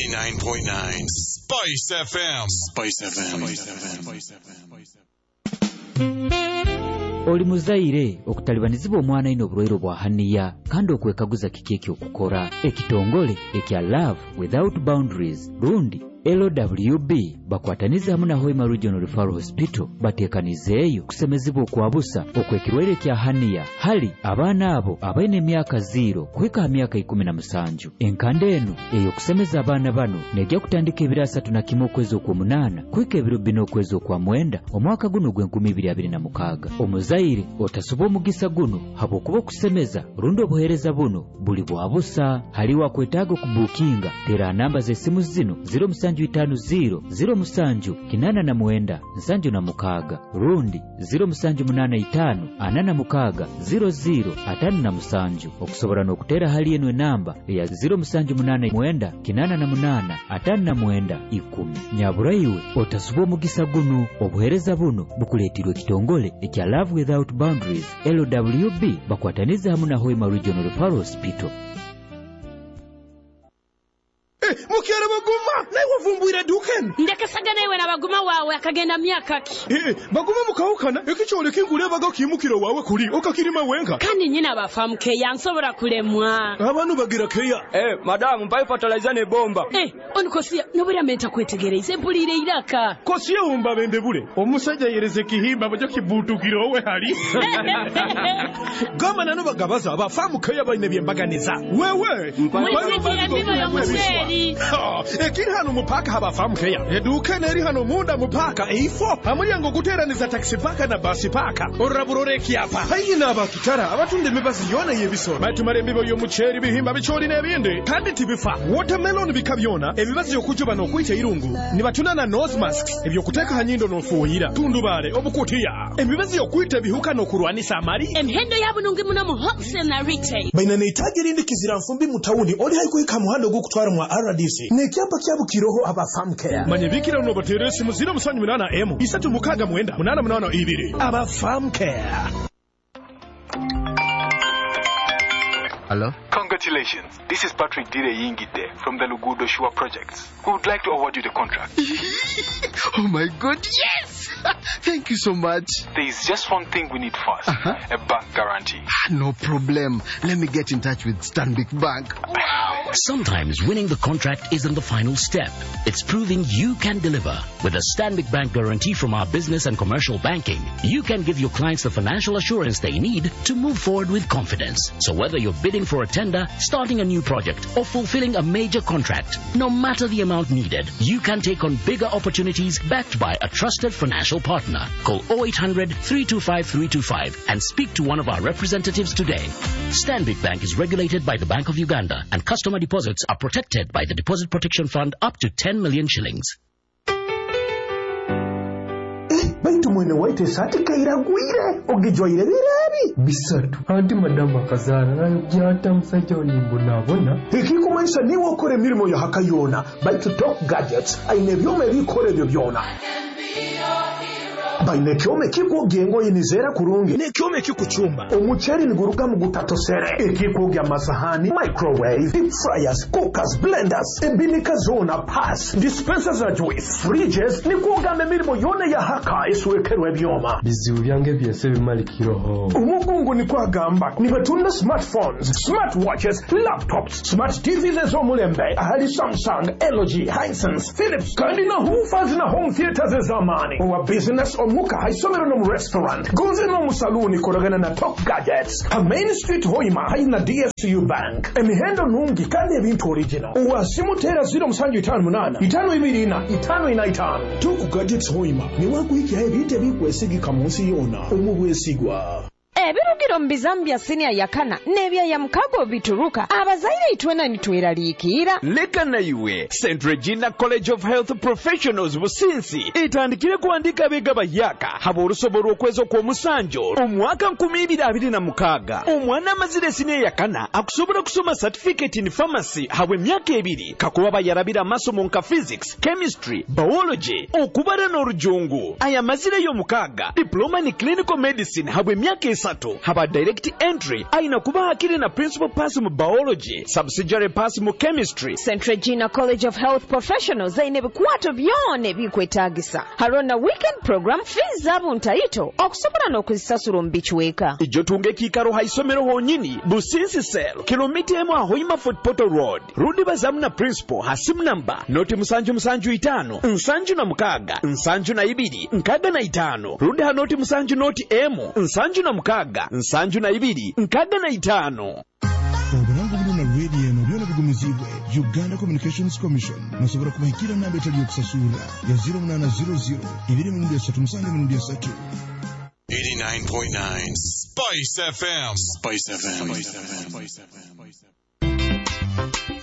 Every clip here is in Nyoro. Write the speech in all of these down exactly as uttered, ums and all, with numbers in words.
ninety-nine point nine Spice F M. Spice F M. Spice F M. Oli muzaire okutalibanizibwa omwana ine oburwaire bwa hernia kandi okwekaguza kiki ekyokukora. Ekitongole ekya Love Without Boundaries rundi L W B bakwataniza hamu na Hoima Regional Referral Hospital bateekanizeeyo kusemezibwa okwabusa okwekirwaire kya hernia hali abaana abo abaine emyaka zero kuhika ha myaka ikumi na musanju. Enkanda enu ey'okusemeza abaana bano nejja kutandika ebiro asatu na kimu okwezi okw'omunaana kuhika ebiro bina okwezi okwa mwenda omwaka guno ogw'enkumi ibiri abiri na mukaaga. Omuzaire otasuba omugisa guno habwokuba okusemeza rundi obuheereza buno buli bwa busa. Hali wakwetaaga okubuukinga, tera namba z'esimu zino: zero musanju itaano zero zero musanju kinaana na mwenda nsanju na mukaaga rundi zero musanju munaana itaano ana na mukaaga zero zero atano na musanju. Okusobora n'okuteera hali eno enamba eya zero musanju munaana mwenda kinaana na munaana atano na mwenda ikumi. Nyaburaiwe, otasuba omugisa guno. Obuheereza buno bukuleetirwe ekitongole ekya Love Without Boundaries L W B bakwataniza hamu na Hoima Regional Referral Hospital. Mukere Baguma, naye wavumbwire edduuka eno. Ndekesaga naiwe na Baguma waawe akagenda myaka ki? Eh, Baguma mukawukana ekikyole kinkulebaga kimukiro waawe kuli okakirima wenka. Kandi nyina bafamu keya nsobola kulemwa. Abantu bagira keya. Eh, madamu, mpaye fertilizer ne bomba. Eh, onikosiya nobura menta kwetegereza empulire iraka. Kosiya wumba bende bule omusajja yereze kihimba bajo kibutukira owe hali gamba nano bagabaza abafamu keya balina byembaganiza wewe. Mulisikira embibo y'omuceeri. Ekiri hano mupaka haba keya eduuka eno eri hano munda mupaka eifo hamulyango guteeraniza taxi paka na basi paka orurabura ekyapa haihi n'abakitara abatunda emibazi yona y'ebisolo batumala embibo y'omuceeri, bihimba, bicooli n'ebindi kandi tibifa, watermelon bika byona, emibazi y'okujuba n'okwita irungu, nibatunda na nose masks ebyokuteeka ha nyindo n'ofuuhira, tundubaale, obukutiya, emibazi y'okwita ebihuka n'okurwanisa amali. Emihendo yabunungi muno mu wholesale na retail. Baina neitaji erindi kizira nfumbi mu tawuni oli haikuhika muhanda ogw'okutwara mwa R D C n'ekyapa kyabukiroho aba Farm Care. Manye bikira uno bateera esimu zero musanju munaana emu isatu mukaaga mwenda munaana munaana ibiri. Aba Farm Care. Hello? Congratulations. This is Patrick Dire Yingide from the Lugudo Shua Projects. We would like to award you the contract. Oh my God, yes! Thank you so much. There is just one thing we need first: Uh-huh. a bank guarantee. No problem. Let me get in touch with Stanbic Bank. Sometimes winning the contract isn't the final step. It's proving you can deliver. With a Stanbic Bank guarantee from our business and commercial banking, you can give your clients the financial assurance they need to move forward with confidence. So whether you're bidding for a tender, starting a new project, or fulfilling a major contract, no matter the amount needed, you can take on bigger opportunities backed by a trusted financial partner. Call oh eight hundred three two five three two five and speak to one of our representatives today. Stanbic Bank is regulated by the Bank of Uganda, and customer deposits are protected by the Deposit Protection Fund up to ten million shillings. Baitu mwene waite esaati kairagwire ogijwaire birebi. Bisatu anti madamu akazaara nayo byata musajja nimbonabona. Ekikumanyisa niwe okora emirimo yahaka yona, baitu Top Gadgets aine ebyoma ebikora ebyo byona. Baine ekyoma ekikwogya engoye nizeera kurungi n'ekyoma ekikucumba omuceeri niguruga mu gutatosere, ekikwogya amasahani, microwave, deep fryers, cookers, blenders, ebinika zona, pass dispenser za juice, fridges, nikwogamba emirimo yona yahaka eswekerwa ebyoma. Bizibu byange byese bimalikiroho. Omugungu nikwo agamba nibatunda smartphones, smartwatches, laptops, smart T Vs ez'omulembe ahali Samsung, L G, Hisense, Philips kandi na woofers na home theaters ez'amaani. Owa business, omuka, haisomero n'omu restaurant gonze n'omu saloon, koragana na Top Gadgets ha Main Street Hoima haihi na D F C U Bank. Emihendo nungi kandi ebintu original. Owasimu teera zero musanju itaano munaana itaano ibiri ina itaano ina itaano. Top Gadgets Hoima niwakuhikyaho ebintu ebikwesigika mu nsi yona omu bwesigwa. Ebirugiro mu bizamu bya siniya yakana n'ebyaya mukago bituruka abazaire itwena nitweraliikirira. Leka naiwe, Saint Regina College of Health Professionals Businsi etandikire kuandika abeega bayaka haba olusobo lw'okwezi okw'omusanjo omwaka nkumi ibiri abiri na mukaaga. Omwana amazire siniya yakana akusobola kusoma certificate in pharmacy habwa emyaka ebiri kakuba bayarabira amasomo nka physics, chemistry, biology, okubara n'orujungu. Aya mazireyo mukaaga, diploma in clinical medicine habwa emyaka esatu. asatu. Haba direct entry aina kuba hakiri na principal pass mu biology, subsidiary pass mu chemistry. Saint Regina College of Health Professionals aine ebikwato byona ebikwetagisa. Hariho na weekend program, fees zabo ntaito okusobola n'okuzisasura omu bicweka. Ijo tunga ekiikaro ha isomero honyini Businsi Cell, kilomita emu ahoima Fort Portal Road. Rudi bazamu na principal ha simu namba noti musanju musanju itano nsanju na mukaga nsanju na ibiri nkaga na itano. Rudi ha noti musanju noti emu nsanju na mukaga nsanju na ibiri nkaga na itano. Oburango buno na radio eno byona bigumizibwe Uganda Communications Commission. Musobola kubahikira namba etali yokusasura ya zero munana zero zero ibiri mirundi esatu musanju mirundi esatu. eighty-nine point nine Spice F M. Spice F M. Spice F M.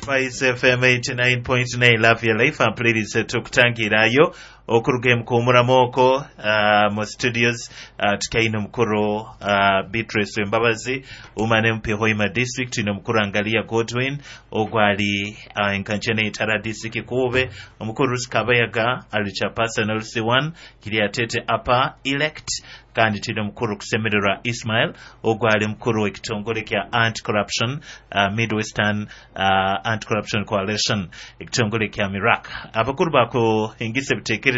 Spice F M eighty-nine point nine Love Your Life. Ampulirize tukutangirayo okuruga mukuumuramoko uh, mu studios uh, tukaine omukuru uh, Beatrice Wembabazi umane M P Hoima District nomukuru Angalia Godwin ogwali uh, enkanchene itara district kube omukuru Sikabayaga ali chairperson L C one Kiryatete upper elect kandi tino mukuru kusemererwa Ismail ogwali mukuru w'ekitongole kya anti-corruption uh, Midwestern uh, Anti-Corruption Coalition ekitongole kya Mirak. Abakuru bako ingise ebitekerezo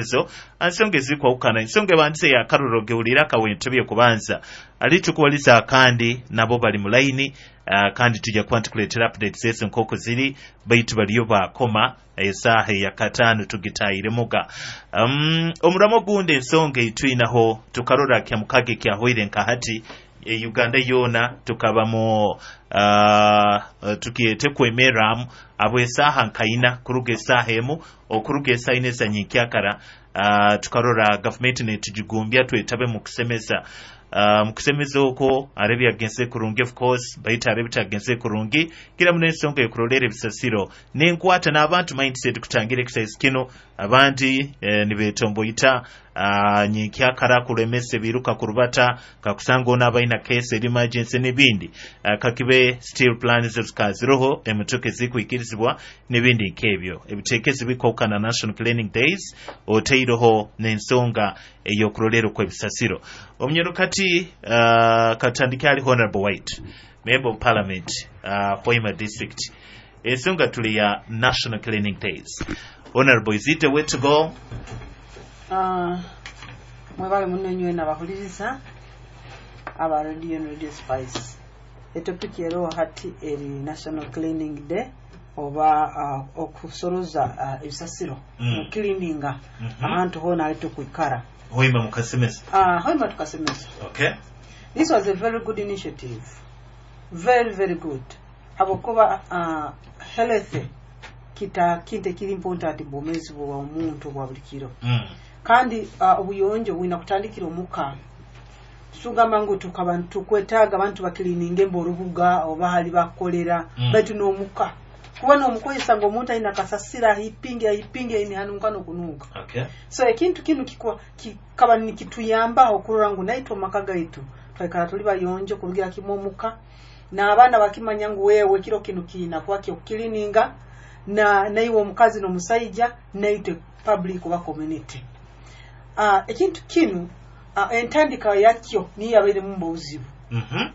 ansonga ezikwawukana ensonga ebandise ya karuro gewulira akawentebye kubanza alitukuwaliza kandi nabo bali mulaini uh, kandi tujja kuba ntukuleetera updates ezi nk'oku ziri baitu baliyo bakoma esaaha eyakataano tugitaayiremuga. um, omuramo gundi ensonga eitwinaho tukarora kya mukage kyahoire nkahati e Uganda yona tukabamo uh, tukiete kwemeramu abo esaaha nkaina kuruga esaaha emu okuruga esaaha ina ezanyikyakara uh, tukarora gavumenti netugigumbya twetabe mu kusemeza. Uh, mukusemeza okwo arabya agenze kurungi of course baita arabya agenze kurungi kila muno ensonga ekurolera ebisasiro nenkwata n'abantu mindset kutangira exercise kino abandi eh, nibetomboyita uh, nyikyakara kulemesa biruka kurubata kakusanga ona abaina case emergency n'ebindi uh, kakibe still plans zikaziroho emitoke zikwikirizibwa n'ebindi nkebyo ebitekezi bikokana National Cleaning Days oteiroho n'ensonga eyokurolera kw'ebisasiro. Omunyarukati uh, katandike ali Honorable White, Member of Parliament, uh, Hoima District. Ensonga tuli ya National Cleaning Days. Honorable, is it the way to go? Uh, mwebale muno nywe nabahuliriza aba Radio and Radio Spice. Etopic ero hati eri National Cleaning Day oba uh, okusoroza uh, ebisasiro mm. mu cleaninga mm -hmm. ahantu hona ali tukwikara. Hoima mukasemesa. Ah, uh, Hoima tukasemesa. Okay. This was a very good initiative. Very very good. Habokuba uh, health kita kinte kiri important bomezi bwa omuntu bwa buli kiro. Mm. Kandi uh, obuyonjo bwina kutandikira omuka. Sugamba ngu tukabantu kwetaaga abantu bakilininge mborubuga oba hali bakolera mm. baitu n'omuka. Kuba n'omukozesa ng'omuntu alina kasasira ahipinge ahipinge ini hanuka n'okunuka. Okay. So ekintu kinu kikwa kikaba nikituyambaho okurora ngu naitwe amaka gaitu twikara tuli bayonjo kurugira kimwe omuka n'abaana bakimanya ngu wewe kiro kinu kiina kuba kyokukilininga na naiwe omukazi n'omusaija naitwe public oba community. Uh, ekintu kinu uh, entandika yakyo niyo yabairemu obuzibu. Mhm.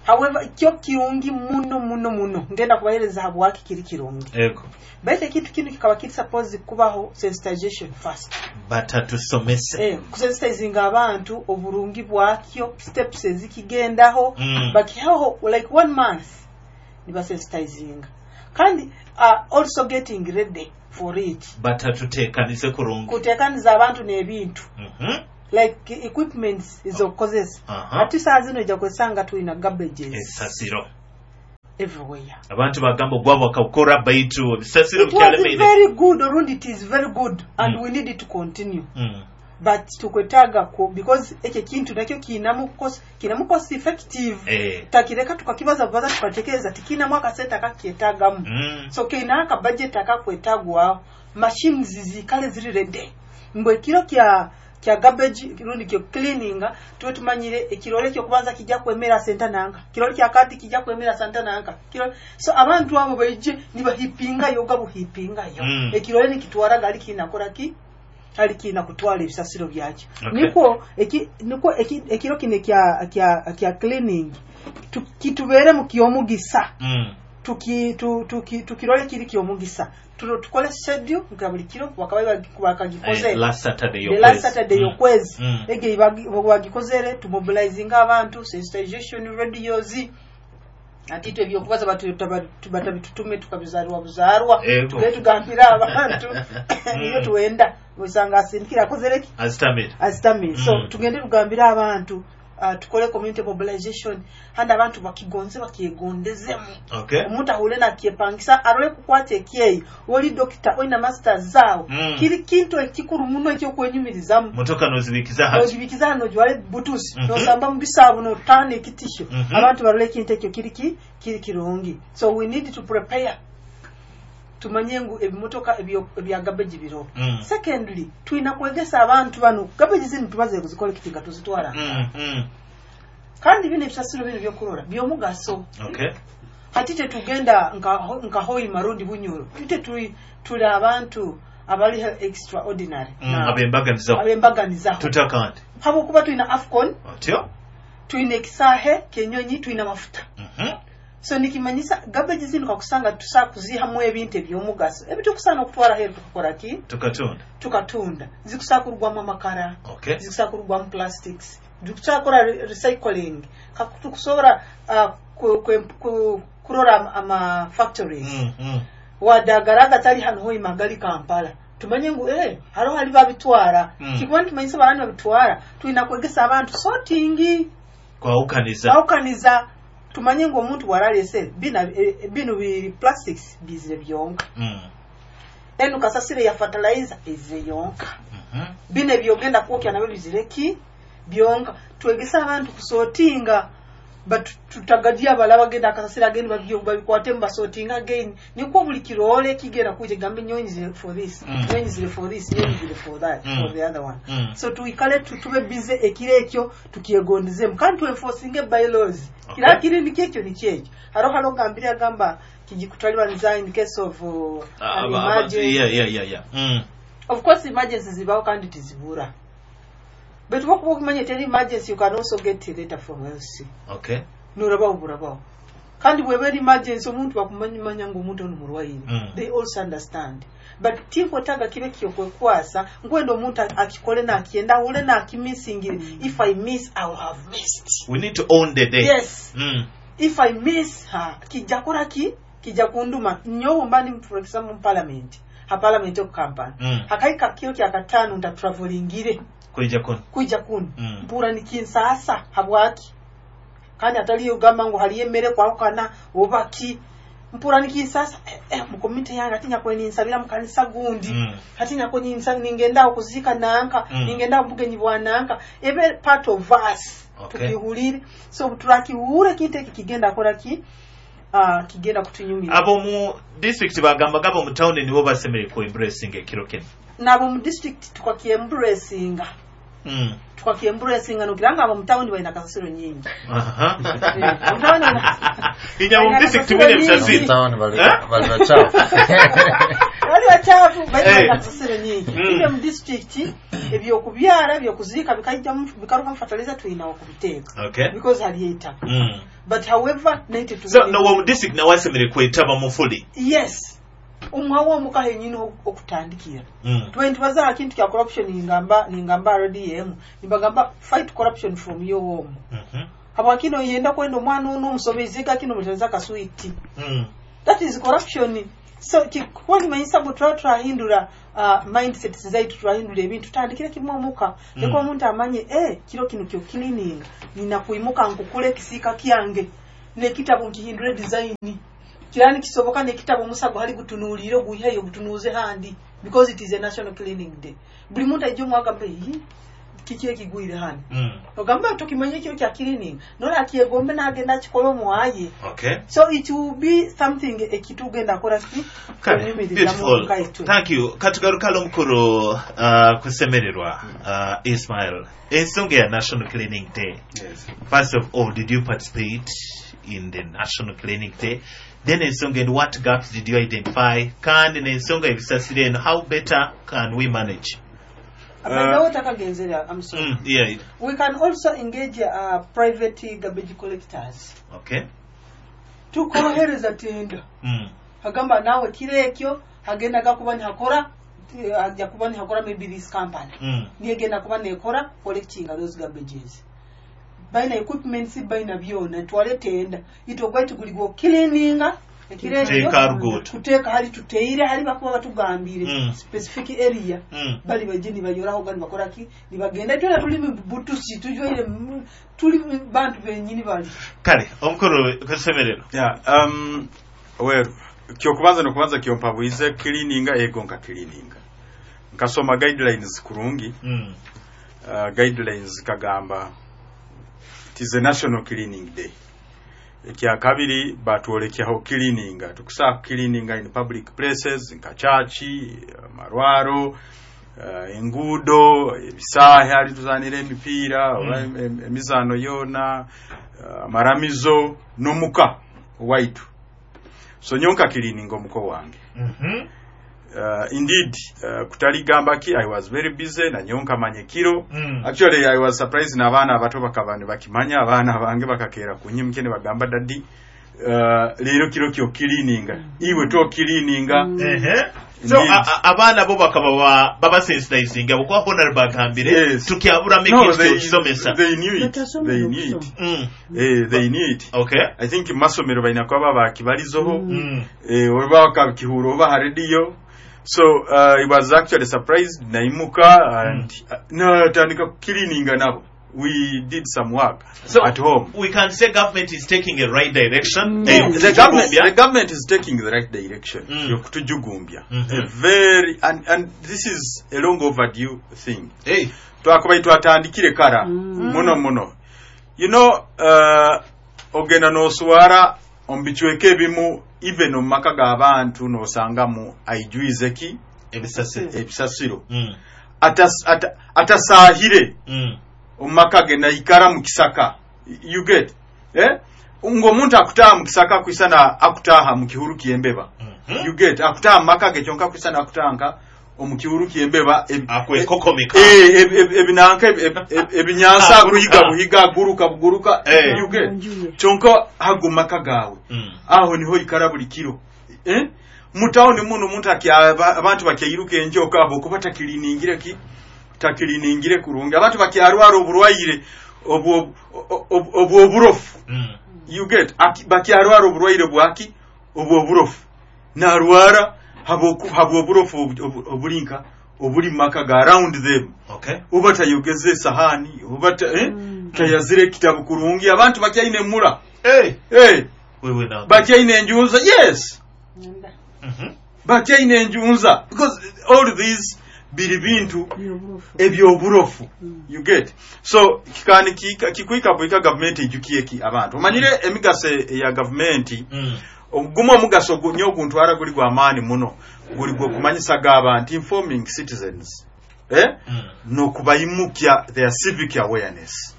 However, kyo kirungi muno muno muno ngenda kubahereza habwaki kiri kirungi. Ego. Baitu ekintu kinu kikaba kiri suppose kubaho sensitization first. Batatusomese. Eh, kusensitizinga abantu oburungi bwakyo, steps ezikigendaho, mm. bakihaho like one month nibasensitizinga. Kandi uh, also getting ready for it. Batatuteekanize kurungi. Kuteekaniza abantu n'ebintu. Mhm. Like equipments ezokukozesa. Uh -huh. Ati saa zino ojja kwesanga tulina garbages. Ebisasiro. Everywhere. Abantu bagamba ogwabo bakawukora baitu ebisasiro It was very good, orundi it is very good and mm. we need it to continue. Mm. But tukwetaaga ko because ekyo kintu nakyo kiinamu cost kiinamu cost effective. Eh. Takireka tukakibaza baza tukatekereza tikinamu akasente akakyetaagamu. Mm. So kiina aka budget akakwetagwaho machines zikale ziri ready. Mbwe kiro kya kya garbage rundi kyo cleaning tuwe tumanyire ekirole kyo kubanza kijja kwemera senta nanga kirole kya kati kijja kwemera senta nanga kirole so abantu abo baije nibahipinga yoga buhipinga yo mm. ekirole nikitwara gali kinakora ki Hali kiina kutwala ebisasiro byakyo. Okay. Nikwo eki, nikwo eki, ekiro kino ekya kya kya cleaning tu- kitubeere mu kyomugisa. Mm. Tuki tu, tuki tukirole kiri kyomugisa. Tulo tukole schedule nka buli kiro bakaba bakagikoze Eh, last Saturday the last y'okwezi. Saturday Mm. y'okwezi. Mm. Ege bagikozere tumobilizinga abantu, sensitization radios, ati itwe ebyokubaza batu- taba- batabitutume tukabizarwa buzarwa. Ego. Tugende tugambire abantu niyo tuwenda osanga asindikira akozere ki Azitamire. azitamire. So Mm. tugende tugambire abantu, uh, tukole community mobilization handi abantu bakigonze bakyegondezemu. Okay. Omuntu ahule nakyepangisa arole kukwata ekyeyi oli dokita olina masters zaawe. Mm. Kiri kintu ekikuru muno ekyokwenyumirizamu. Motoka nozibikiza hati. Nogibikiza hano nojwara butusi, Mhm. nosamba mu bisaabu notaana ekitisho. Mhm. Abantu barole ekintu ekyo kiri ki kiri kirungi. So we need to prepare, tumanye ngu ebimotoka ebyo- ebya garbage biro. Mm. Secondly, tulina kwegesa abantu bano garbage zino tubaze kuzicollectinga tuzitwala. Mm. Mm. Kandi bino ebisasiro bino byokurora byomugaso. Okay. Hati tetugenda nka nka Hoima rundi Bunyoro, ite tuli tuli abantu abali extraordinary. Mm. Now, Abembaganizaho. abembaganizaho. Tutakandi. Habwokuba tulina AFCON, Otyo? tulina ekisaahe kenyonyi, tulina mafuta. Mhm. So nikimanyisa garbage zino kakusanga tusaa kuzihamu ebintu ebyomugaso ebitukusaana okutwara heru tukakora ki? Tukatunda. Tukatunda. Zikusaa kurugwamu amakara, Okay. zikusaa kurugwamu plastics, zikusaa kukora re- recycling. Kaku- tukusobora uh, ku, ku, ku, kurora ama, ama factories. Mm. Mm. Wadagara agatali hano Hoima gali Kampala, tumanye ngu eh hariho hali babitwara. Mm. Kikuba nitumanyisa barani babitwara, tulina kwegesa abantu sorting. Kwawukaniza. Kwawukaniza, tumanye ngu omuntu bwaralese bina eh, bino bi plastics bizire byonka. Mm. Enu kasasire ya fertilizer ezire yonka. Mhm. Bino ebyogenda kwokya nabyo bizire ki byonka. Twegesa abantu kusortinga, but tutagadia abala bagenda akasasira again babyo babikwate basortinga again, nikwo buli kirole kigenda kuje gambe nyonyi zire for this, Mm. nyonyi zire for this, nyonyi zire for that, Mm. for the other one. Mm. So tuikale tu- tube busy ekiro ekyo tukyegondezemu kandi tuenforcinge bylaws. Okay. Kira kiri nikyekyo nikyekyo haro haro gambire agamba kijikutalibanza in case of uh, an Aba- aba- emergency. Yeah, yeah, yeah, yeah. Mm. Of course emergency zibaho kandi tizibura, but wokuba okimanya teri emergency, you can also get a letter from L C. Okay. Nurabaho burabaho, kandi bweba eri emergency omuntu bakumanyimanya ngu omuntu ono murwaire. Mm. They also understand, but tinkwetaaga kibe kyokwekwasa nkwenda omuntu akikole nakyenda ahule nakimisingire. If I miss, I will have missed. We need to own the day. Yes. Mm. If I miss, ha kijja kola ki kijja kunduma nyowe mba ndi for example mu parliament, ha parliament oku Kampala. Mm. Hakaika kiro kya kataano ntatravelingire Kwija kuno. Kwija kuno. Mm. Mpura nikinsaasa habwaki kandi ataliyo gamba ngu haliyo emmere kwawukana oba ki mpura nikinsasa eh, eh, mu community yange ati nyakwe ninsabira mu kanisa gundi. Mm. Ati nyakwe ninsa ningendaho kuziika nanka. Mm. Ningendaho bugenyi bwa nanka ebe part of us. Okay. Tukihulire, so turakihure ekintu eki kigenda kola ki uh, kigenda kutunyumira. Ab'omu district bagambaga ab'omu town nibo basemere ku embracing ekiro kino. Nabo mu district tukakyembracinga. Mm. Tukakyembracinga nokira nga abo mu town balina kasasiro nyingi. Aha. Eh, mu town balina- Inya mu balina district kasasiro mwine nyingi. ebisasiro. Town bali Eh? bali bachafu. Bali bachafu bali Eh. balina kasasiro nyingi. Mm. Ibyo mu district ebyokubyala ebyokuziika bikajjamu bikarukamu fertilizer tulina okubiteeka. Okay. Because hali eitaka. Mm. But however naite So nowe mu district nawe asemere kwetaba mu fully. Yes, omwawo omuka henyini okutandikira. Mm. Tuba ntubaza aha kintu kya corruption, ningamba ningamba R D M nibagamba fight corruption from your home. Mhm. Habwakino yenda kwenda omwana ono omusomezeka kino mutereza kaswiti. Mm. That is corruption. So kikuba nimanyisa bwe tuba turahindura uh, mindset zaitu, turahindura ebintu tutandikire kimwe omuka. Mm. Leka omuntu amanye eh kiro kino kyo cleaning nina kuimuka nkukule ekisiika kyange nekitabo nkihindure design kirani kisoboka nekitabo omusago hali gutunuulire oguyiheyo gutunuuze handi because it is a national cleaning day. Buli muntu aija omwagamba "Ii, kiki ekigwire hano?" Mm. Ogamba tokimanye ekiro kya cleaning nola akyegombe n'agenda akikola omwaye. Okay. So it will be something ekitugenda kola ki Kale, kunyumiriza mu beautiful. kaitu. Thank you. Katugarukalo omukuru uh, kusemererwa uh, Ismail. Ensonga ya National Cleaning Day. Yes. First of all, did you participate in the National Cleaning Day? Then ensonga and what gaps did you identify? Kandi n'ensonga ebisasiro eno, how better can we manage? By the I'm sorry. Mm, yeah. We can also engage uh, private garbage collectors. Okay. Tukorohereza tenda. Mm. Agamba nawe kire ekyo agenda gakuba nihakora ajja kuba nihakora maybe this company. Mm. Niyegenda kuba nekora collecting those garbages. Baina equipments baina byona twale tenda. Ito gwaitu guligo cleaninga kuteeka hali tuteire hali bakuba batugambire mm. specific area mm. bali baje nibayoraho gani bakora ki nibagenda twena tuli butusi tujwaire tuli bantu benyini bali kale omukuru kusemerero yeah um well kyokubanza nokubanza kyompabwize cleaninga ego nka cleaninga nkasoma guidelines kurungi mm. uh, guidelines kagamba it is a national cleaning day. Ekya kabiri batwolekyaho cleaninga tukusaa cleaninga in public places nka chachi amarwaro uh, enguudo ebisaahe hali tuzanira emipiira oba mm. emizaano yona amaramizo uh, n'omuka owaitu so nyonka cleaninga omuko wange mm -hmm. Uh, indeed uh, kutaligamba ki I was very busy na nyonka manye kiro mm. Actually I was surprised na abaana abato bakaba ne bakimanya abaana bange bakakeera kunyimke ne bagamba daddy uh, leero kiro kyo cleaninga mm. iwe to cleaninga mm. Ehe so abaana bo bakaba baba sensitizing abo honorable bagambire yes. tukyabura no, make it they knew it they knew it mm. eh they knew it okay I think masomero balina kuba bakibalizoho mm. eh oba bakabikihura oba ha radio. So uh, I was actually surprised naimuka and mm. uh, no tandika cleaning nabo we did some work so at home. We can say government is taking a right direction. Mm. Eh, the government the government is taking the right direction Mm. yokutujugumbya mm-hmm. a very and and this is a long overdue thing. Hey twakuba twatandikire kara mm. muno muno you know uh, ogenda noswara omubichweka ebimu even omu maka g'abantu n'osangamu aijuize ki ebisasiro ebisasiro mm. Atas, ata, atasaahire mm. omu maka ge naikara mu kisaka you get eh? ng'omuntu akutaaha mu kisaka akwisana akutaaha mu kihuru ky'embeba mm -hmm. you get akutaaha mu maka ge kyonka akwisana akutaaha omu kihuru ky'embeba akwekokomeka ebinanka ebinyansa akuhiga buhiga aguruka buguruka eh. you get kyonka hago maka gaawe mm. aho niho ikara buli kiro eh? mutawuni muno omuntu abantu bakyairuka enjoka abo okuba takiriningire ki takiriningire kurungi abantu bakyarwara oburwaire obwoburofu mm. you get bakyarwara oburwaire bwaki obwoburofu narwara habwoburofu obulinka obuli mumaka ga around them okay. oba tayogeze esahani oba ta, eh? mm. tayazire ekitabu kurungi abantu bakyaine emura hey. hey. wewe na bakyaine enjunza yes mm -hmm. bakyaine enjunza because all these biri bintu ebyoburofu mm. you get so kikani kikwika bwika gavumenti ejukieki abantu omanyire mm. emigaso eya gavumenti mm. ogumu omugaso nnyo oguntwara guli gwa maani muno guli gwokumanyisa g'abantu informing citizens eh? mm. n'okubayimukya their civic awareness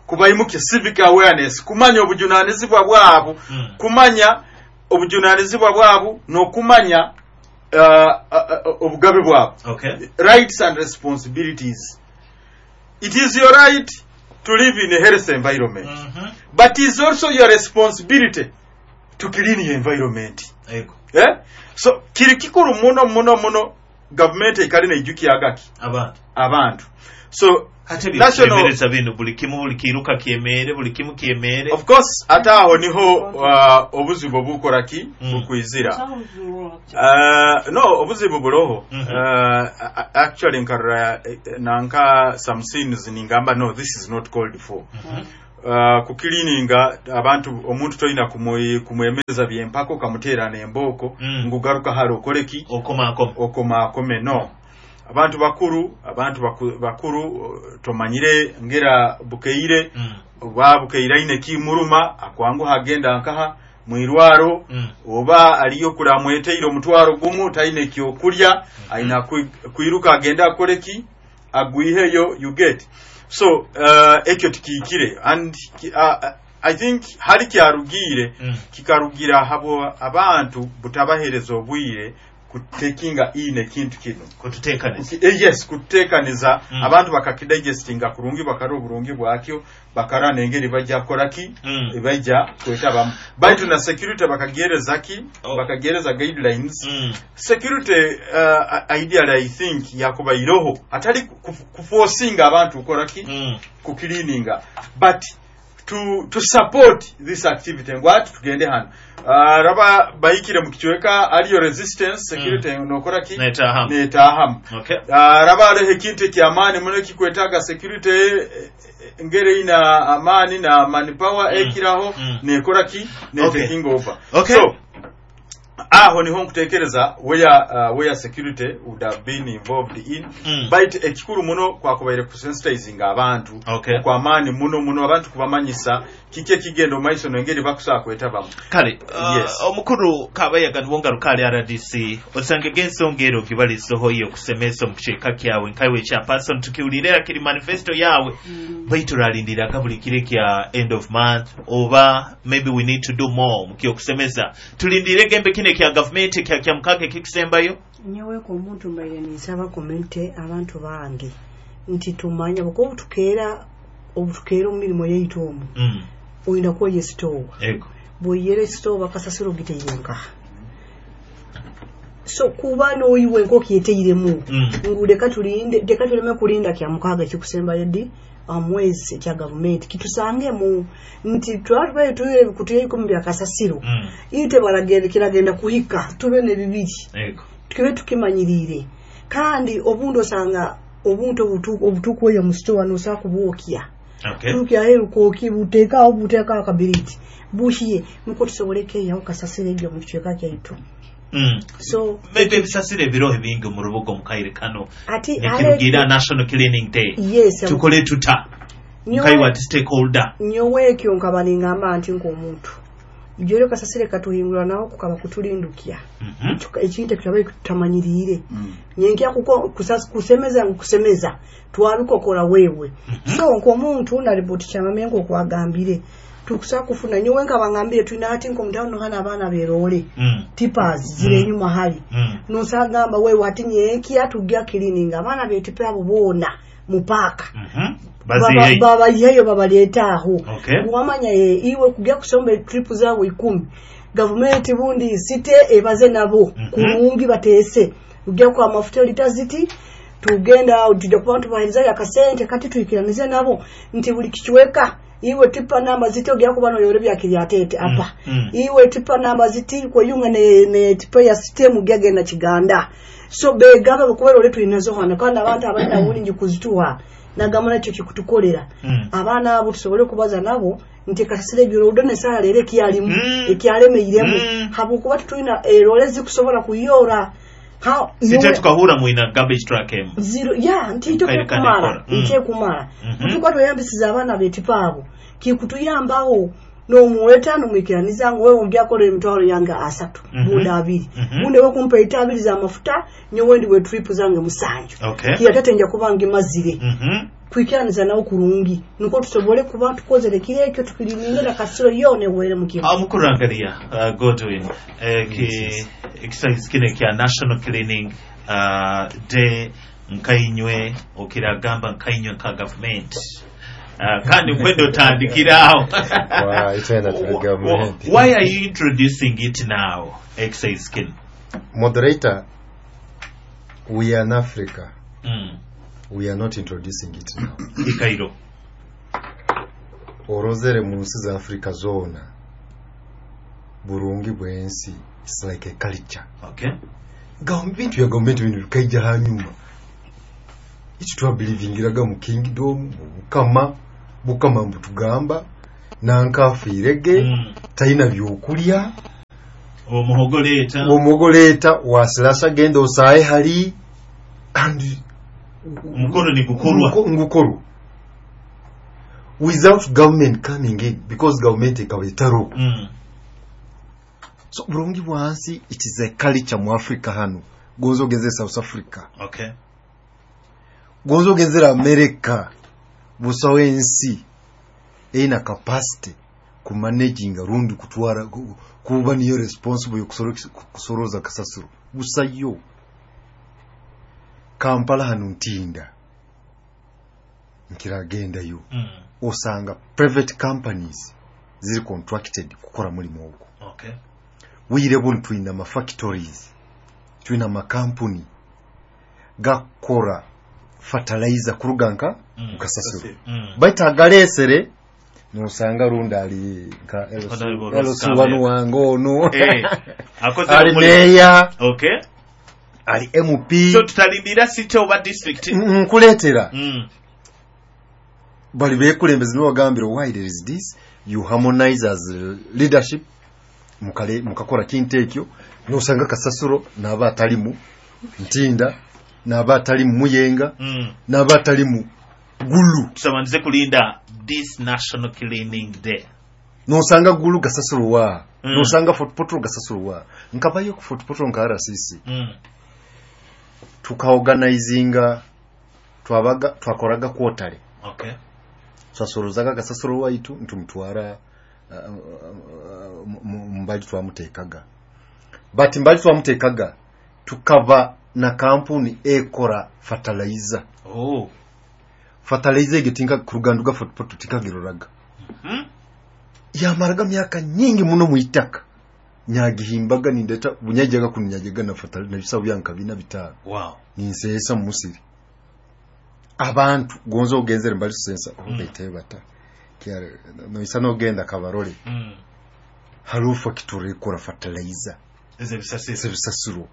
kubayimukya civic awareness kumanya obujunaanizibwa bwabo mm. kumanya obujunaanizibwa bwabo n'okumanya uh, uh, obugabe bwabo okay. rights and responsibilities it is your right to live in a health environment mm -hmm. but is also your responsibility to clean your environment Ego. eh? so kiri kikuru muno muno muno gavumenti ekali neijukiyagaki abantu abantu so ate byemereza bino buli kimu buli kiruka kyemere buli kimu kyemere of course ate aho niho uh, obuzibu obukola ki Mm. bukwizira uh, no obuzibu buroho mm -hmm. uh, actually nkarora nanka some scenes ningamba no this is not called for mm -hmm. Uh, kukilininga abantu omuntu tolina kumwemeza byempaka okamuteera nembooko mm. ngugaruka hali okoleki okomaakome okomaakome no abantu bakuru abantu baku, bakuru tomanyire ngera bukeire mm. oba bukeire aine kimuruma akwanguha agenda nkaha mwirwaro mm. oba aliyo kulamweteire omutwaro gumu taine kyokulya mm -hmm. aina kwiruka agenda akoleki agwiheyo you get so uh, ekyo tikiikire and uh, I think hali kyarugiire mm. kikarugira habo abantu butabahereza obwire Kutekinga in ekintu kino. Kututeekaniza. Eh, yes, kututeekaniza. Mm. Abantu bakakidigestinga kurungi, bakara oburungi bwakyo, bakara nengeri bajja kukoraki, Mm. bajja kwetabamu. Baitu na security bakagereza ki, Oh. bakagereza guidelines. Mm. Security, uh, ideally I think yakubairoho atali kuforcinga abantu kukoraki, Mm. kukilininga, but to, to support this activity ngwati tugende hano. Uh, raba bayikire mu kichweka aliyo resistance, security mm. nokora ki, Netahamu. Netahamu. Okay. Uh, raba aliho ekintu ekyamaani muno ekikwetaaga security, eh, eh, ngeri ina amaani na manpower Mm. ekiraho, Mm. nekora ki, Okay. netaking over. Okay. So aho niho nkutekereza where, uh, where security would have been involved in. Mm. Baitu ekikuru muno kwakubaire kusensitizing abantu Okay. kwamaani muno muno, abantu kubamanyisa kiki ekigenda omu maiso nengeri bakusobola kwetabamu. Kale, uh, Yes. omukuru Kabayaga niwongaruka ali R D C, osange g'ensonga ero gibalisoho iyo okusemesa omu kikyeka kyawe nkaiwe ekya person tukiwulire kiri manifesto yawe, baitu turalindiraga buli kiro kya end of month, oba maybe we need to do more mukyokusemeza, tulindire gembe kino ekya gavumenti ekya kya mukaaga ekikusembayo? Nyoweeko omuntu mbaire ninsaba community, abantu bange, nti tumanya buko obutukeera obutukeera omu mirimu yaitu omu, Mm. oyina kwoya esitoowa. Ego. Bw'oyera esitoowa, kasasiro giteire nkaha? So kuba n'oyiwe nk'okyeteiremu Mm. ngu leka tulinde, leka tuleme kulinda kya mukaaga ekikusembayo ddi omwezi ekya gavumenti kitusangemu nti twaba tubaire tuyire ebikutuya ikumi bya kasasiro, Mm. ite baragenda kiragenda kuhika tube ne bibiri. Ego. Tukibe tukimanyirire. Kandi obundi osanga obuntu obutu- obutukwoya mu sitowa nosobola kubwokya. Okay. Tukyaheru kwoki, buteekawo buteekawo akabiriti buhiye, nukwo tusobole keeyaho kasasiro egyo mu kicweka kyaitu. Mm. So maybe ebisasiro ebiroho ebingi mu rubuga omu kaire kano ati nekirugiira National Cleaning Day, Yes. tukole tuta Nyowe- nkaiwe ati stakeholder? Nyowe ekyo nkaba ningamba nti nk'omuntu ijoro kasasire katuhingura naho kukaba kutulindukya. Mhm. Tuka- ekintu ekyo tutamanyiriire nyenkya kuko kusas- kusemeza ngu kusemeza twabikokora wewe. So nk'omuntu nariboti kyamamye nk'okwagambire tukusa kufuna, nyowe nkaba ngambire tulina ati nk'omutano hana abaana beroole, Mm. tippers ziri enyuma hali. Mm. Nosagamba wewe ati nyenkya tujja cleaning abaana betipe abo boona mu paaka. Mhm. Baziyeyo. Babayiheyo, babaleeta aho. Okay. Wamanya ye iwe kujya kusomba trip zaabwe ikumi, gavumenti bundi site ebaze nabo kulungi, bateese ujja kwa mafuta lita ziti, tugenda tujja kuba tubaherezayo akasente kati tuikiranize nabo nti buli kichweka iwe tipa namba ziti ojja kuba noyore byakiri apa, Mm. iwe tipa namba ziti kweyunga ne, ne tipa ya sitemu gyagenda kiganda. So begaba bakubera ole tulinazo hano, kandi abantu abalina bulingi kuzituwa nagamba nakyo kikutukolera. Mm. Abaana abo tusobole okubaza nabo nti kasasiro ebyo nesala leero ekyalimu, Mm. ekyalemeiremu, Mm. habwokuba tetulina erole zikusobola kuyora. Ha- Site nyowe- tukahura mwina garbage truck emu. Zero ya nti Kaire tekumala. kane Mm. Ntekumala. Mhm. Tuka tweyambisiza abaana betipa abo kikutuyambaho nomuweta nomwikiraniza ngu wewe ojja kola emitwalo yange asatu, Mhm. bunda abiri, Mhm. bunde wekumpa ita abiri z'amafuta, nyowe ndiwe trip zange musanju, Okay. kiyatete nja kuba ngimazire. Mhm. Kwikiraniza nawo kurungi niko tusobole kuba tukozere kiri ekyo tukiliningira kasiro yone were mukiro. Omukurangaria uh, Godwin, eki exercise kino ekya National Cleaning uh, Day, nkainywe okiragamba nkainywe nka gavumenti, uh, kandi nkwenda otandikirawo. Wow, itwenda tuli gavumenti. Why are you introducing it now, exercise kino? Moderator, we are in Africa. Mm. We are not introducing it now. Ikairo. Orozere mu nsi za Africa zoona, burungi bw'ensi, it's like a culture. Okay. Gavu- bintu bya gavumenti bino bikaija hanyuma. Ekyo twabilivingiraga mu kingdom, mu bukama, bukama mbutugamba nankafiirege, Mm. talina byokulya. Omuhogo leeta. Omuhogo leeta, wasilasa genda osaaye hali and Omukolo nigukorwa. Nguko- ngukorwa without government coming in, because government ekaba etaro. Mm. So bulungi bwansi, it is a culture mu Africa hano. Gonza ogenze South Africa, Okay. gonza ogenzera America, busawo ensi erina capacity. kumanaginga rundi kutwara ku- kuba niyo responsible yokusoro- kusoroza kasasiro busayo. Kampala hanu Ntinda nkiragendayo Mm. osanga private companies ziri contracted kukora mulimu ogwo. Okay. Bwire bunu twina ama factories, twina amakampuni gakora fertilizer kuruga nka Mm. mukasasiro. Mm. Baitu agalesere nosanga rundi ali nka Honorable L C Ross wanu wange ono Eh, akoze ali omulimu. meya Okay. ali M P. So tutalindira city oba district. Nkuleetera Mm. bali bekulembeze nibagambira why there is this, you harmonize as leadership mukale mukakora kintu ekyo nosanga kasasiro naba atalimu Ntinda naba atalimu Muyenga Mm. naba atalimu Gulu. Tusabandize kulinda this national cleaning day. Nosanga Gulu gasasiro wa Mm. nosanga Fort Portal gasasiro wa nkabayo ku Fort Portal nka R C C. Mm. Tukaorganizinga twabaga twakoraga quarterly. Okay. Twasorozaga gasasiro waitu ntumutwara uh, uh, uh, mbali twamutekaga but mbali twamutekaga tukaba na kampuni ekora fertilizer. Oh. Fertilizer egyo tinka kuruganduga Fort Portal tinkagiroraga. Mhm. Yamaraga myaka nyingi muno muitaka nyagihimbaga nindeta bunyajaga kunyajaga na fertilizer na bisabu byanka bina bitano. Wow. Ninsesa mu musiri abantu gonzo ogenzere mbali sensa mm. Obaite bata kyare noisa nogenda kabarole. Mm. Harufa kiturekora fertilizer ezebisasiro ezebisasiro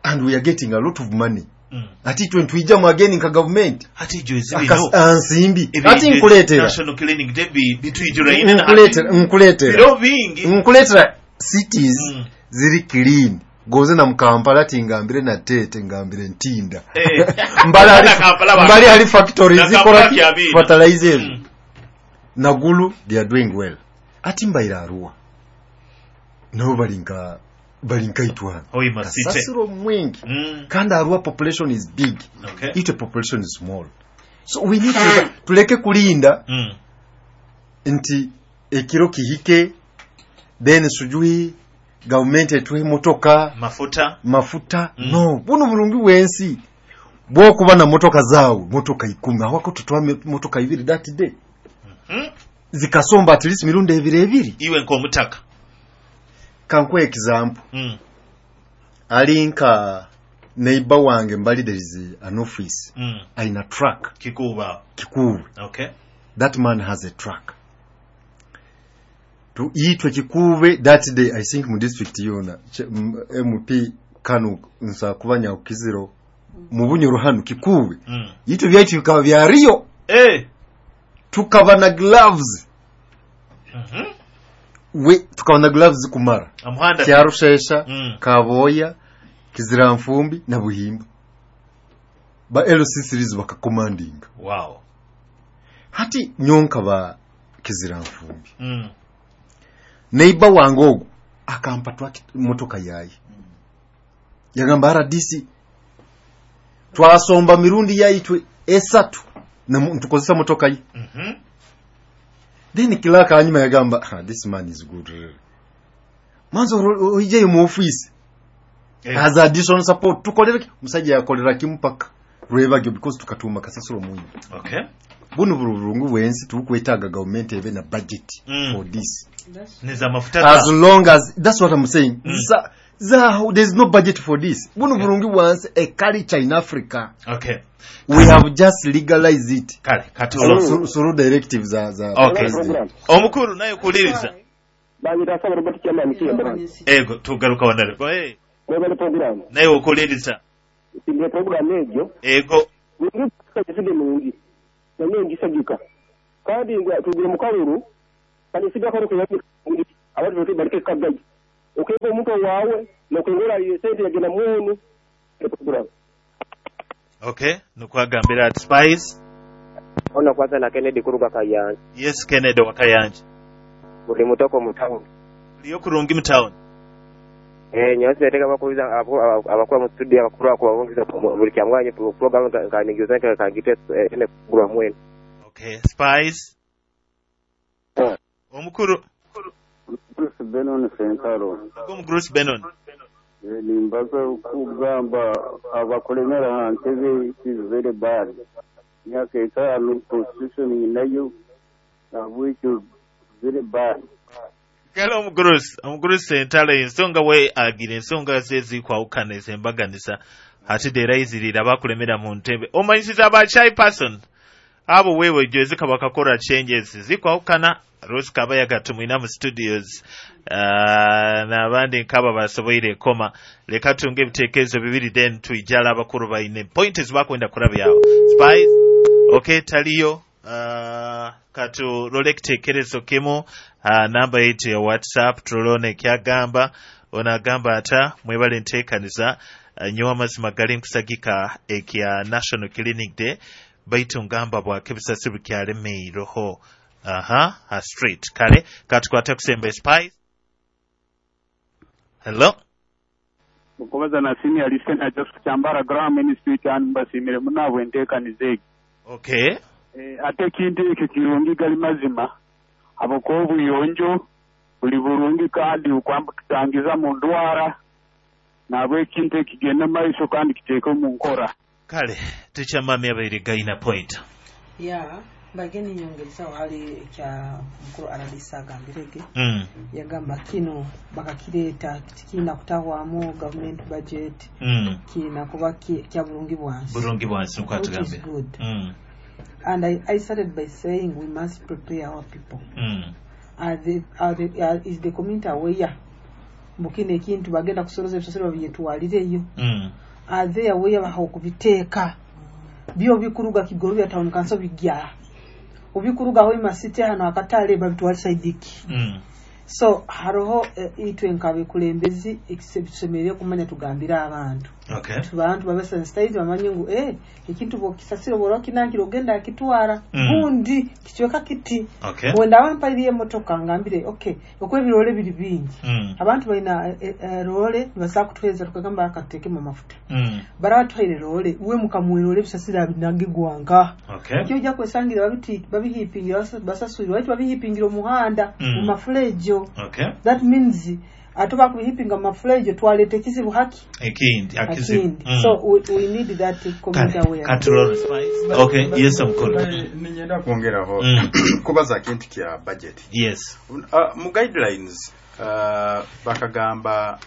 and we are getting a lot of money. Mm. Ati twe ntwija mu again nka government ati jo ezibino ansimbi ati nkuletera national cleaning day bi bitwijura ine nkuletera nkuletera biro bingi nkuletera cities Mm. ziri clean goze na Mukampala ati ngambire na Tete ngambire Ntinda. Eh. Mbali ali Na Kampala ba- mbali ali factories Na zikora Kampala kyabina. fertilizers. Mm. Nagulu they are doing well. Ati mbaira Arua nabo balinka balinka itwana Hoima city. kasasiro mwingi. Mm. Kandi Arua population is big. Okay. Itwe population is small, so we need to tuleke kulinda Mm. nti ekiro kihike then sujui government etuhe motoka mafuta mafuta. Mm. No buno bulungi bwensi bwokuba na motoka zaawe motoka ikumi awako tutwa motoka ibiri that day. Mm. Zikasomba at least mirundi ebiri ebiri iwe nkomutaka. Kankuwa example. Mm. Ali nka neighbor wange mbali there is an office. Mm. Aina truck Kikuba Kikuba. Okay. That man has a truck tu itwe Kikube that day I think mu district yona M P kanu nsa kubanya ukiziro mu Bunyoro hanu Kikube. Mm. Itwe byaitu bikaba byariyo eh tukaba na gloves. Mhm. We tukaba na gloves kumara Amuhanda Kyarushesha. Mm. Kaboya Kiziramfumbi na Buhimba ba L C series bakacommanding. Wow. Hati nyonka ba Kiziramfumbi. Mm. Neighbor wange ogwo akampa twaki motoka yayi. Yagamba R D C twasomba mirundi yaitwe esatu na ntukozesa motoka yi. Mhm. Then kilaka hanyuma yagamba ah, this man is good. Manzo oije mu office. Eh. As additional support tukolera musajja yakolera kimpaka rwebagyo because tukatuma kasasiro munyi. Okay. Buno bulungu bwensi tukwetaaga government ebe na budget Mm. for this. Neza mafuta As long as that's what I'm saying. Mm. Za, za, there's no budget for this. Buno bulungi bwansi a culture in Africa. Okay. We have just legalized it. Kale kati Through through directives za za Okay. president. Omukuru naye kuliriza. Banyita saba Robert Chairman Kiyemba. Ego tugaruka wanale. Eh. Mwebale program. Naye okuliriza. Sindye program egyo. Ego Ngi kisige mungi. Nanye ngisagika. Kandi ngwa tugire mukaluru kandi siga ko ko yabi abantu bote barike kagayi. Okego omuntu wawe nokengora sente yagenda munu program. Okay, nukwagambira at Spice. Ono kwanza na Kennedy kuruga Kayanja. Yes Kennedy wa Kayanja. Buli mutoko mu town. Liyo kurungi mu town. Eh nyose teka bakubiza abakora mu studio abakuru akubabongiza buli kyamwanye program kanigizana kangite ene kugura mwene. Okay, Spice. Omukuru. Bruce Benon Sentaro. Omugurusi Benon. Eh, nimbaza kugamba abakulemera ha ntebe it is very bad. Myaka etaano constitution inayo nabwekyo very bad. Kale omugurusi, omugurusi Sentaro ensonga we agira ensonga ze zikwawukana ezembaganiza ate dera izirira abakulemera mu ntebe. Omanyisiza aba shy person. Abo wewe jwezeka bakakora changes zikwawukana Rose Kabayaga tumwina mu studios uh, n'abandi nkaba basoboire koma leka tunge ebitekerezo bibiri then tuijala abakuru baine point ezibakwenda kurabyawo Spice okay taliyo uh, katulole ekitekerezo kimu uh, namba yetu ya WhatsApp tulone ekyagamba onagamba ata mwebale nteekaniza uh, nyowe amazima gali nkusagika ekya National Clinic Day baitu ngamba bwake ebisasi bikyalemeirweho aha a street kale katukwate kusemba Spice. Hello. Mukubaza na senior listener Joseph Kyambara Graham Institute and mbasimire munabwe enteekaniza egi. Okay. Eh, ate ekintu ekyo kirungi gali mazima abakuba obuyonjo buli burungi kandi okwambukitangiza mu ndwara nabwe ekintu ekigenda maiso kandi kiteeke omu nkora. Kale tikyamami abaire gaina point. Ya bageni nyongerezaho hali kya mukuru R D C agambirege. Mm. Yagamba kino bakakireeta kiina kutahwamu government budget, Mm. kiina kuba ki- kya bulungi bwansi. Bulungi bwansi Which is nkwatugambye. good. Mm. And I, I started by saying we must prepare our people. Mm. Are the, are the, are, is the community aware mbu kino ekintu bagenda kusoloza ebisasiro babyetwalireyo? Mm. Are they aware baha okubiteeka byo bikuruga Kigorobya town council bijja obikuruga Hoima City hano akatale babitwala saidiki? Mm. So haroho eh, itwe nkabekulembezi tusemerere kumanya tugambire abantu. Okay. Abantu babe sensitized bamanye ngu eh, ekintu bwokisasiro bwora kinangira ogenda akitwara Mm. gundi kicweka kiti. Okay. Wenda bampairiye emotoka ngambire okay okwo ebirole biri bingi. Mm. Abantu balina eh, eh, role nibasobola kutuheereza tukagamba akatuteekemu amafuta. Mm. Barabatuhaire role we mukamuwerole ebisasiro binagigwanka. Okay. Ekyo ojja kwesangira babiti babihipingira basa- basasulirwa baitu babihipingira omuhanda Mm. mu mafulejo. Okay. That means ate bakubihipinga mu mafulejo twaleeta ekizibu haki Ekindi akizibu. akindi. Mm. So we, we need that community awareness. Katulole Spice. Okay, yes omukuru. Ninyenda kwongeraho Mm. kubaza kintu kya budget. Yes. Uh, mu guidelines uh, bakagamba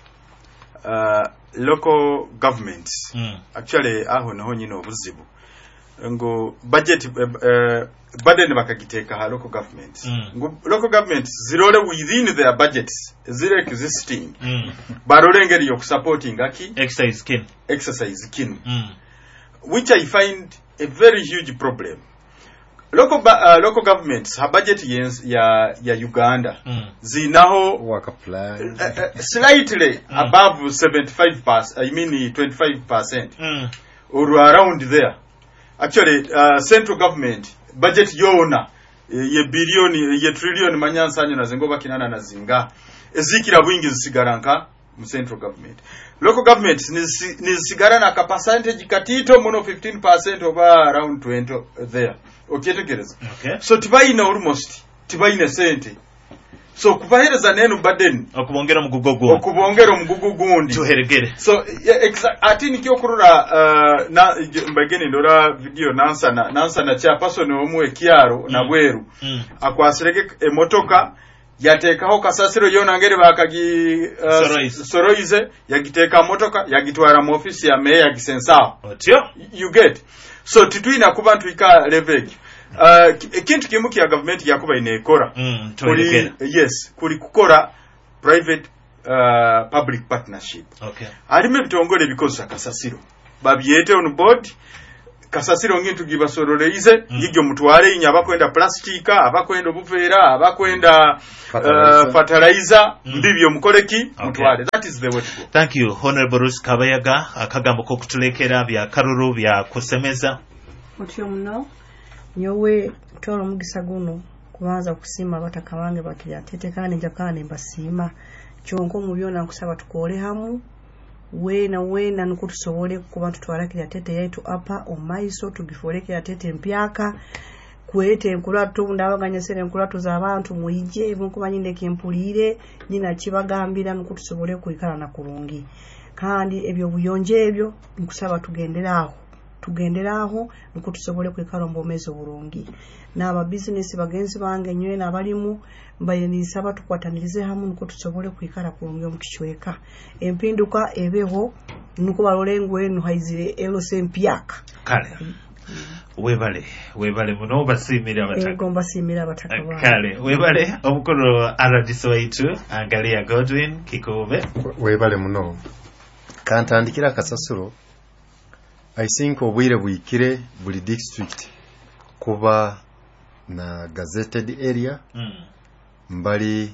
uh, local governments. Mm. Actually aho naho nyine obuzibu ngo budget uh, uh, burden bakagiteeka ha local governments. Mm. Ngo local governments zirole within their budgets ziri existing, Mm. barole engeri yokusupporting aki exercise kin exercise kinu, Mm. which I find a very huge problem. Local, ba- uh, local governments ha budget yens, ya, ya Uganda Mm. zinaho work plan uh, uh, slightly mm. above seventy-five percent, I mean twenty-five percent Mm. or around there. Actually uh, central government budget yona eh, ye billion ye trillion manyansanyo na zingoba kinana na zinga ezikira bwingi zisigara nka mu central government. Local governments nizi- nizisigara na ka percentage katito muno, fifteen percent oba around twenty there, okyetegereza? Okay. So tibayina almost tibayina sente, so kubahereza nenu burden okubongera omugugo gundi. Okubongera omugugu gundi. Tuheregere. So yeah, exa- ati nikyo okurora uh, na mbageni ndora video nansana nansana chairperson omu ekyaro mm. nabweru Mm. akwasirege emotoka yateekaho kasasiro yona ngeri bakagi uh, Soroize. Soroize yagiteeka motoka yagitwara mu ofisi ya meya yagisensaho. Otyo. You get? So titwina kuba ntwika level ekyo. Uh, ki- ekintu kimu kya gavumenti yakuba inekora Mm, kuli, tuheregere. yes, kuli kukora private uh, public partnership. Okay. Harimu ebitongole ebikozesa kasasiro babyete on board kasasiro ngintu gibasororeize mm. ngigyo mutwale inye abakwenda plastika, abakwenda obuveera, abakwenda Fertilizer. uh, fertilizer mm. mbibyo mukoleki mutwale. That is the way to go. Thank you, Honorable Ruth Kabayaga. Akagambo kokutulekera bya karuru bya kusemeza. Otyo muno nyowe twala omugisa guno kubanza kusiima abataka bange bakiryatete kandi nja kandi mbasiima kyonka omu byona nkusaba tukole hamu weena weena nukwo tusobole kuba tutwala Kiryatete yaitu apa omumaiso tugifuule Kiryatete empyaka. kweta enkurato ndabaganyesera enkurato z'abantu mwije nkuba nyine kempulire nyina kibagambira nuko tusobole kuikalana kurungi kandi ebyo buyonje ebyo nkusaba tugenderaho tugenderaho nuko tusobole kwikala omu burungi n'aba business bagenzi bange nywe n'abalimu mbaye nisaba tukwatanirize hamwe nuko tusobole kwikala kurungi omu kicweka empinduka ebeho nuko balole enu haizire L C mpyaka kale webale webale muno basimira abataka ego mbasimira abataka kale webale omukuru R D C waitu Angalia Godwin Kikube webale muno kantandikira akasasuro I think obwire bwikire buli district kuba na gazetted area mm. mbali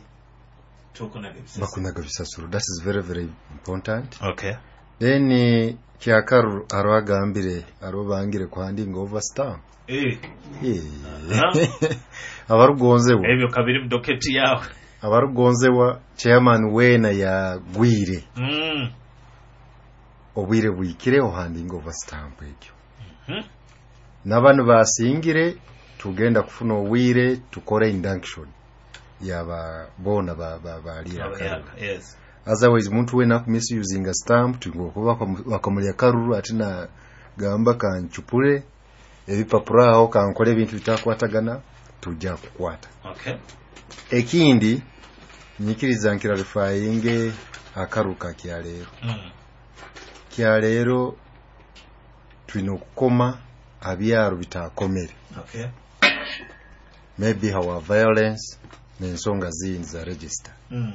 bakunaga bisasuro that is very very important. Okay, then kyakaru arwagambire arobangire kuhandinga over stamp eh eh abarugonzewa ebyo kabiri mudoketi yawe abarugonzewa chairman wena ya gwire mm. obwire bwikire ohandinga over stamp ekyo mm -hmm. n'abantu basingire tugenda kufuna obwire tukore induction yaba bona ba ba balira ba, yes. Otherwise muntu wena kumisuusing a stamp tingokuba bakamulya karuru atina gamba kanchupure ebipapura aho kankole ebintu bitakwatagana tujja kukwata. Okay, ekindi nyikiriza nkirarifyinge akaruka kya leero mm. kya leero tulina okukoma abyaro bitakomere. Okay, maybe our violence n'ensonga zindi za register mm.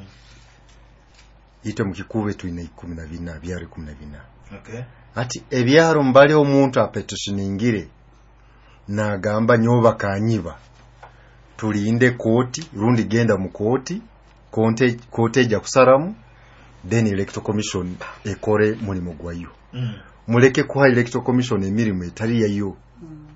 ite mukikube tulina ikumi na bina abyaro ikumi na bina. Okay, ati ebyaro mbali omuntu apetitioningire nagamba nyoba kanyiba tulinde kooti rundi genda mu kooti konte kooti ejja kusaramu then electoral commission ekore mulimu gwayo. mm. Muleke kuha electoral commission emirimu etali yayo. mm.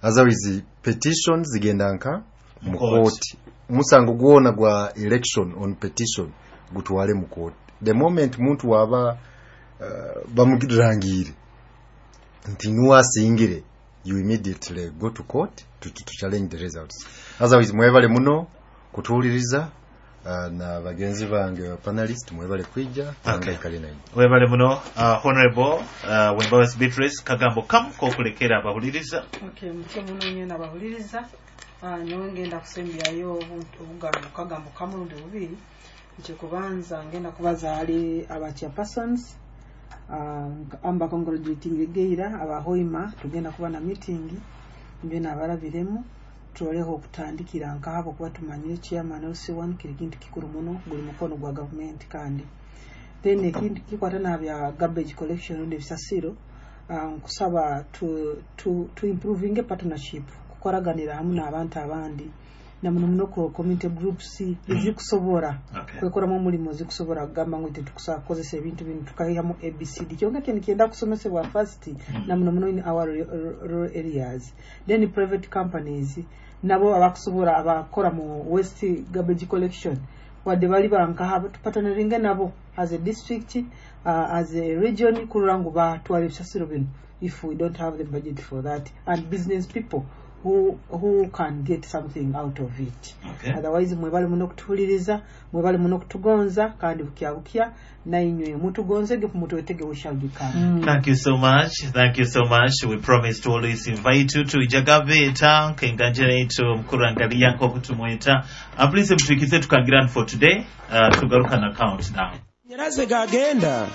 Otherwise petitions zigenda nka mu kooti musango gwona gwa election on petition gutwale mu kooti. The moment muntu waba uh, bamugirangire nti nuwasingire you immediately go to court to, to, to challenge the results. Otherwise mwebale muno kutuuliriza uh, na bagenzi bange ba panelist mwebale kwijja. Okay. Webale muno uh, honorable uh, Wembabazi Beatrice kagambo kamu kokulekera abahuliriza. Okay, mutye muno nyena abahuliriza uh, nyowe ngenda kusembyayo obugambo kagambo kamulundi bubiri. Ekyokubanza ngenda kubaza ali aba chairpersons uh, amba congratulating egeira abahoima tugenda kuba na meeting mbena abalabiremu tuloleho okutandikira nk'abo kuba tumanyire chairman L C one kiri kintu kikuru muno guli mukono gwa government kandi then ekindi kikwata nabya garbage collection n'ebisasiro nkusaba uh, to, to, to improving partnership kukoraganira hamwe n'abantu abandi na muno muno ko community groups ezikusobora okay. kwekoramu omulimu zikusobora kugamba ngu tetukusobola kukozesa ebintu bino tukayihamu A B C D kyonka kye nikyenda kusomesebwa first mm. na muno muno in our rural areas then private companies nabo abakusobora abakora mu waste garbage collection wadde bali bankaha tupatanaringe nabo as a district uh, as a region kurora ngu batwara ebisasiro bino if we don't have the budget for that and business people who who can get something out of it. Okay. Otherwise mwebale muno kutuhuliriza mwebale muno kutugonza kandi bukya bukya na inywe mutugonzege mutwetege we shall become. Mm. Thank you so much. Thank you so much. We promise to always invite you to Ijagaveta kenganjira mukuru Angalia nkokutumweta. Uh, please mtuikize tukagiran for today. Uh, tugaruka na countdown. Nyeraze gagenda.